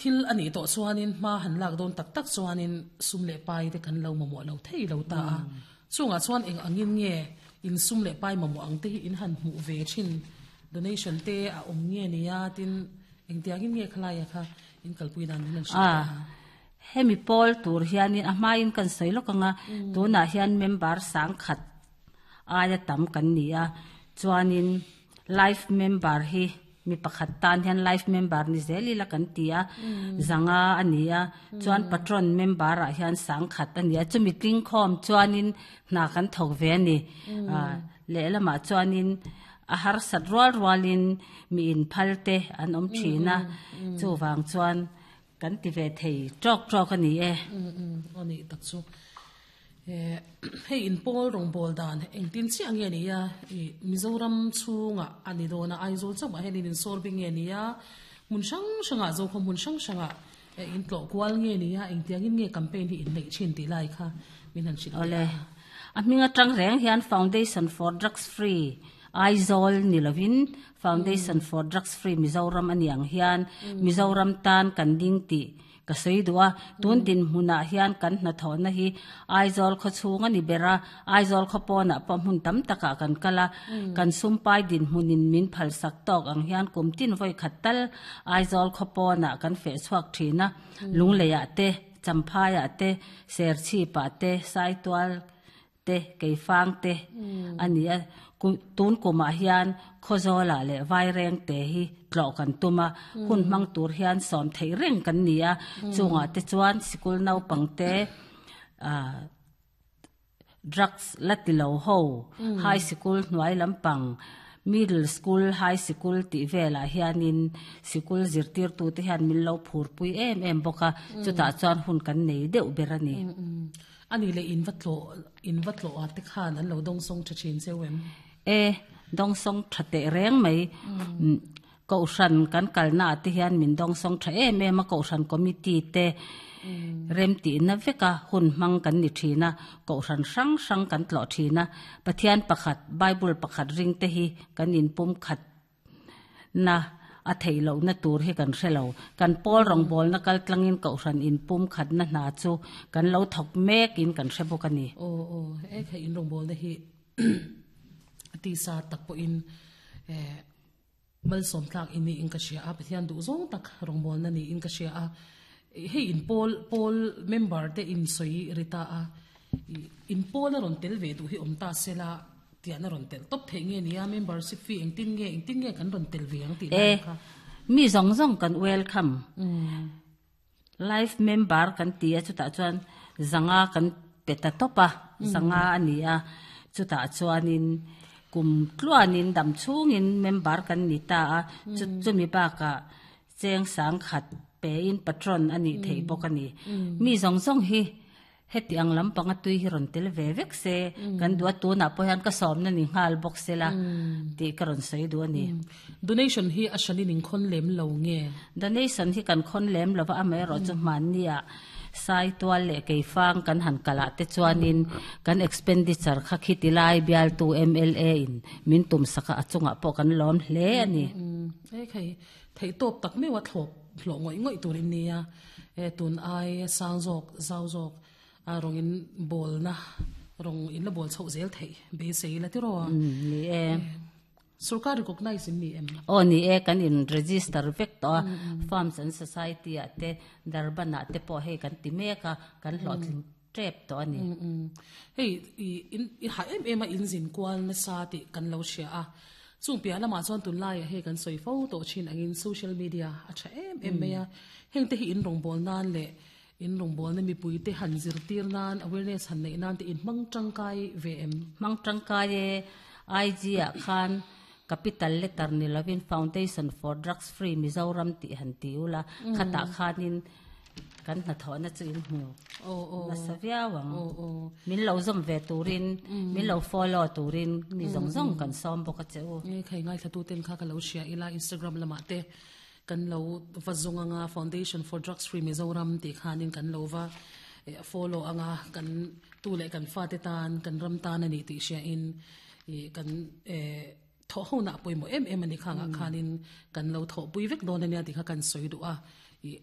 Thil a nih tawh chuanin hma han lak dawn tak tak chuanin sum leh pai te kan lo mamawh lo thei lo ta a. Chungah chuan eng angin nge in sum leh pai mamawh ang te hi in han hmuh ve thin? Donation te a awm nge nia tin engtiangin nge khalaia kha in kalpui dan min han hrilh teh a? Hemi pawl tur hianin a hmain kan sawi lawk ang a, tunah hian member sangkhat aia tam kan ni a, chuanin life member hi Mi pakhat tan hian life member ni zel ila kan ti a, zanga a ni a, chuan patron member ah hian sangkhat a ni a, chumi tlingkhawm chuanin hna kan thawk ve a ni. Lehlamah chuanin a harsat rual rualin mi inphal te an awm thin a, chuvang chuan Kan ti ve thei tawk tawk a ni e. Aw nih tak chu. Hei in pawl rawngbâwl dan engtin chiah nge ni a? I Mizoram chhungah a ni dawn a, Aizawl chauhah hian in insawr bik nge ni a? Hmun hrang hrangah, Zokhawm hmun hrang hrangah in tlawh kual nge ni a? Engtiangin nge campaign hi in neih thin tih lai kha min han hrilh teh a. A hming atang reng hian Foundation for Drugs Free Aizawl ni lovin Foundation for Drugs Free Mizoram a ni ang hian Mizoram tan kan ding tih ka sawi duh a. Tun dinhmunah hian kan hnathawhna hi Aizawl khaw chhung a ni ber a, Aizawl khaw pawnah pawh hmun tam takah kan kal a. Kan sumpai dinhmunin min phalsak tawk ang hian kum tin vawi khat tal Aizawl khaw pawnah kan feh chhuak thin a, Lungleiah te, Champhaiah te, Serchhipah te, Saitual te, Keifang te a ni a. Tun kumah hian Khawzawlah leh Vaireng te hi tlawh kan tum a, hun hmang tur hian sawm theih reng kan ni a. Chungah te chuan sikul naupang te drugs la ti lo ho, high sikul hnuai lampang, middle school, high sikul tih velah hianin sikul zirtirtute hian min lo phurpui em em bawk a, chutah chuan hun kan nei deuh ber a ni. A nih leh in va tlawh, in va tlawh ah te khan an lo dawngsawng tha thin cheu em? E, dawngsawng tha teh reng mai. Kohhran kan kalna ah te hian min dawngsawng tha em em a, Kohhran committee te remtihna veka hun hmang kan ni thin a, Kohhran hrang hrang kan tlawh thin a, Pathian pakhat, Bible pakhat ring te hi kan inpum khat Na, a theih lohna tur hi kan hre lo. Kan pawl rawngbawlna kal tlangin Kohhran inpum khatna hna chu kan lo thawk mekin kan hre bawk a ni. Aw aw, he kha in rawngbawlna hi a tisa tak pawhin eh malsawm tlak i niin ka hria a, Pathian duh zawng tak rawngbawlna niin ka hria a. Hei in pawl pawl member te in sawi ri ta a, in pawl a rawn tel ve duh hi awm ta sela, Tian a rawn telh tawp theih nge nia, membership fee engtin nge, engtin nge kan rawn tel ve ang tih lai kha. Mi zawng zawng kan welcome. Life member kan ti a, chutah chuan zanga kan pe ta tawp a, zanga a ni a, chutah chuanin kum tluanin dam chhungin member kan ni ta a, chumi bakah cheng sangkhat pein patron a nih theih bawk a ni. Mi zawng zawng hi Heti ang lampanga tui hi rawn tel ve vek se, kan duh a, tunah pawh hian ka sawmna ni nghal bawk se la tih ka rawn sawi duh a ni. Donation hi a hranin in khawn lem lo nge? Donation hi kan khawn lem lo va, amaherawhchu hmanniah Saitual leh Keifang kan han kalah te chuanin kan expenditure kha khiti lai bialtu mla in min tumsak a, a chungah pawh kan lawm hle a ni. Hei theihtawp tak meuh a thlawp hlawh ngawih ngawih tur in nia. He tun ai sang zawk zau zawk a rawng in bawlna rawng in la bawl chhoh zel theih beisei la tiraw a? Ni e. Sorkar recognize in ni em? Aw ni e, kan in register vek tawh a, Farms and Society ah te Durban ah te pawh hei kan ti mek a, kan hlawhtling tep tawh a ni. Hei i in i hah em em a in zin kual nasa tih kan lo hria a, chung piah lamah chuan tunlaiah hei kan sawi fo tawh thin angin social media a tha em em mai a, heng te hi in rawngbâwl nan leh in rawngbâwlna mipui te han zirtir nan awareness han neih nan te in hmang tangkai ve em? Hmang tangkai e, IG ah khan capital letter ni lovin Foundation for Drugs Free Mizoram tih han ti ula, khatah khanin Kan hnathawhna chu in hmu nasa viau ang. Min lo zawm ve turin, min lo follow turin mi zawng zawng kan sawm bawk a che u. Nge khai ngaithla ten kha ka lo hria ila Instagram lamah te kan lo va zawng anga Foundation for Drugs Free Mizoram tih khanin kan lo va follow anga kan tu leh kan fate tan kan ram tan a ni tih hria in kan Thawh ho nah pawimawh em em a ni khangah khanin kan lo thawhpui vek dawn a nia tih kha kan sawi duh a. Ih.